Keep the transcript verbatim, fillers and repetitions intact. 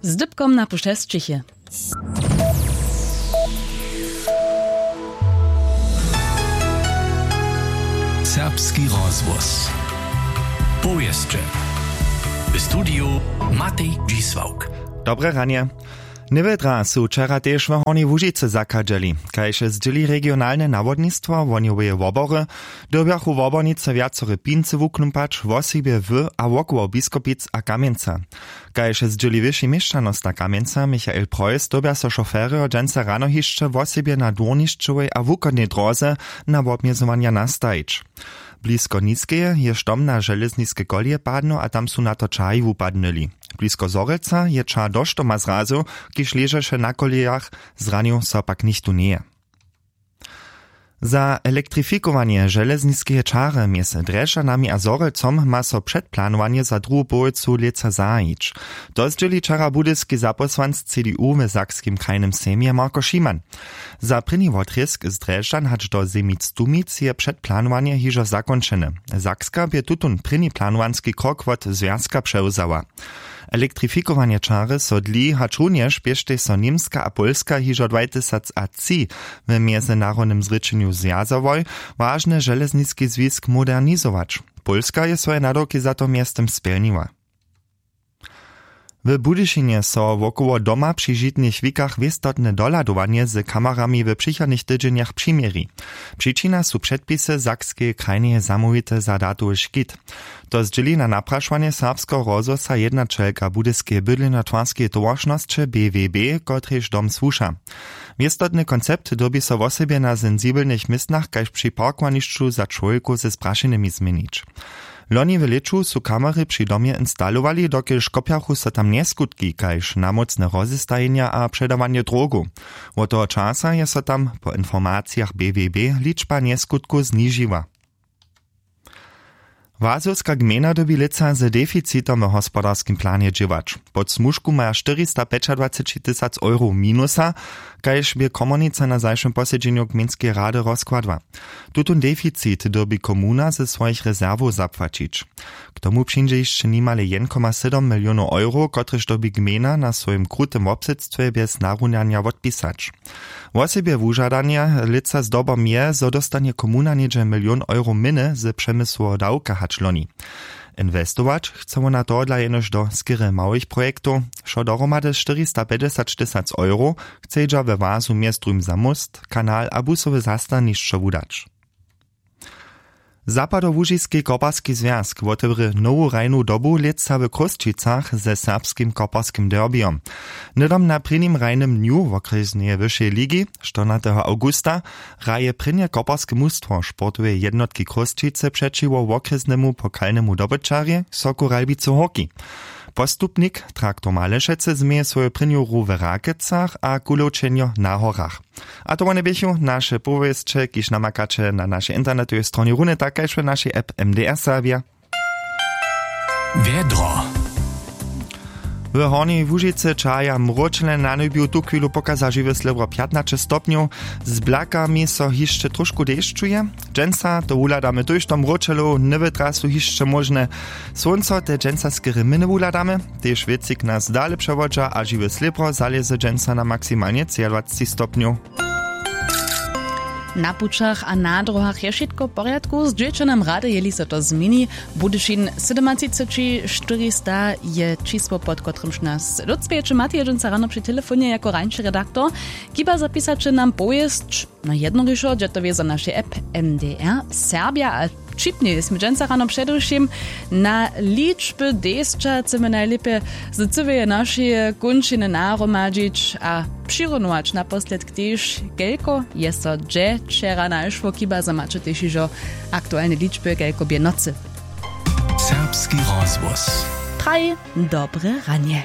Z dypkom na pušćesćichi. Serbski rozhłos. Powěsće. W studiju Matej Dźisławk. Dobre ranje. Njewjedra su wčera tež w Hornjej Łužicy zachadźeli. Kaž zdźěli regionalne nawodnistwo wohnjoweje wobory, dyrbjachu wobornicy wjacore pincy wuknumpać, wosebje w a wokoło Biskopic a Kamjenca. Kaž zdźěli wyši měšćanosta Kamjenca Michael Preuss, dyrbja so šoferjo dźensa rano hišće wosebje na dwórnišćowej a wuchodnej dróze na wobmjezowanja nastajić. Blisko Niskeje je štom na železniske koleje padnył a tam su na to čahi wupadnyli. Blisko Zhorjelca je čah do štoma zrazył, kiž ležeše na kolejach, zranił so pak nichtó njeje. Za elektrifikowanje železniskeje čary mjez Drježdźanami a Zhorjelcom ma so předplanowanje za druhu połojcu lětsa zahajić. To zdźěli wčera budyski zapósłanc C D U w Sakskim krajnym sejmje Marko Šiman. Za prěni wotrězk z Drježdźan hač do Zemic-Tumic je předplanowanje hižo zakónčene. Sakska bě tutón prěni planowanski krok wot zwjazka přewzała. Elektrifikowanje čary so dli, hač runjež běštej so Němska a Pólska hižo dwatysacatři w mjezynarodnym zrěčenju zwjazałoj, wažny železniski zwisk modernizować. Pólska je swoje nadawki za to mjeztym spjelniła. W Budyšinje so wokoło doma při žitnych wikach wěstotne dohladowanje z kamerami w přichodnych tydźenjach přiměri. Přičina su předpisy Sakskeje krajneje zamołwite za datowy škit. To zdźěli na naprašowanje Serbskeho rozhłosa jednaćelka Budyskeje bydlenjotwarskeje towaršnosće B W B, kotrež dom słuša. Wěstotny koncept dyrbi so wosebje na sensibelnych městnach kaž při parkowanišću za čłowjekow ze sprašenymi změnić. Loni w lěću su kamery při domje instalowali, dokelž kopjachu so tam njeskutki kaž namócne rozestajenja a předawanje drogow. Wot toho časa je so tam po informacijach B W B ličba njeskutkow znižiła. Wazowska gmejna dyrbi lětsa z deficitom w hospodarskim planje dźěłać. Pod smužku maja štyristapjećadwaceći tysac euro minusa, kaž bě komornica na zašłym posedźenju gmejnskeje rady rozkładła. Tutón deficit dyrbi komuna ze swojich rezerwow zapłaćić. K tomu přińdźe hišće nimale jedn koma sydom milionow euro, kotrež dyrbi gmejna na swojim krutym wobsydstwje bjez narunanja wotpisać. Wosebje wužadanje lětsa zdobom je, zo dóstanje komuna něhdźe milion euro měny z přemysłoweho dawka hač loni. Inwestować chce wona tohodla jenož do skerje małych projektow. Wšo dohromady štyristapjećdźesat tysac euro chcedźa we wazu mjez druhim za móst, kanal a busowe zastanišćo wudać. Zapadołužiski koparski zwjazk wotewrě nowu hrajnu dobu lětsa w Chrósćicach ze serbskim koparskim derbijom. Hnydom na prěnim hrajnym dnju wokrjesneje wyšeje ligi, štyrnateho awgusta, hraje prěnje koparske mustwo sportoweje jednotki Chrósćicy přećiwo wokrjesnemu pokalnemu dobyćarjej Soku Ralbicy Horki. Postupnik Traktor Malešecy změje swoju prěnju hru w Rakecach a kulowčenjo na horach. A to wone běchu naše powěsće, kiž namakaće na našej internetowej stronje runje tak kaž w našej app M D R Serbja. Wjedro. W Hornjej Łužicy čaja mróčele na njebju tuchwilu pokaza žiwe slěbro pjatnaće stopnjow. Z blakami so hišće tróšku dešćuje. Dźensa to wuhladamy tójšto mróčelow, njewytra su hišće móžne. Słónco te dźensa skerje měny wuhladamy. Tež wětřik nas dale přewodźa a žiwe slěbro zalěze dźensa na maksimalnje třiadwaceći stopnjow. Na pućach a na dróhach je wšitko w porjadku, z dźěćanom rady jeli so to změni. Budyšin sydomatřiceći štyrista je čisło pod kotrymž nas lótspjeće matej je dźensa rano při telefonje jako rańši redaktor. Kiba zapisaće nam powěsć na jednorišo dźe to wězo našej app. M D R Serbja a wćipnje smy dźensa rano předewšěm na ličby desća chcemy najlěpje z cyłeje našeje kónčiny nahromadźić a přirunować naposledk tež kelko je so dźe wčera našło. Kiba zo maće tež hižo aktualne ličby kelko bě nocy. Serbski rozhłos. Praj dobre ranje.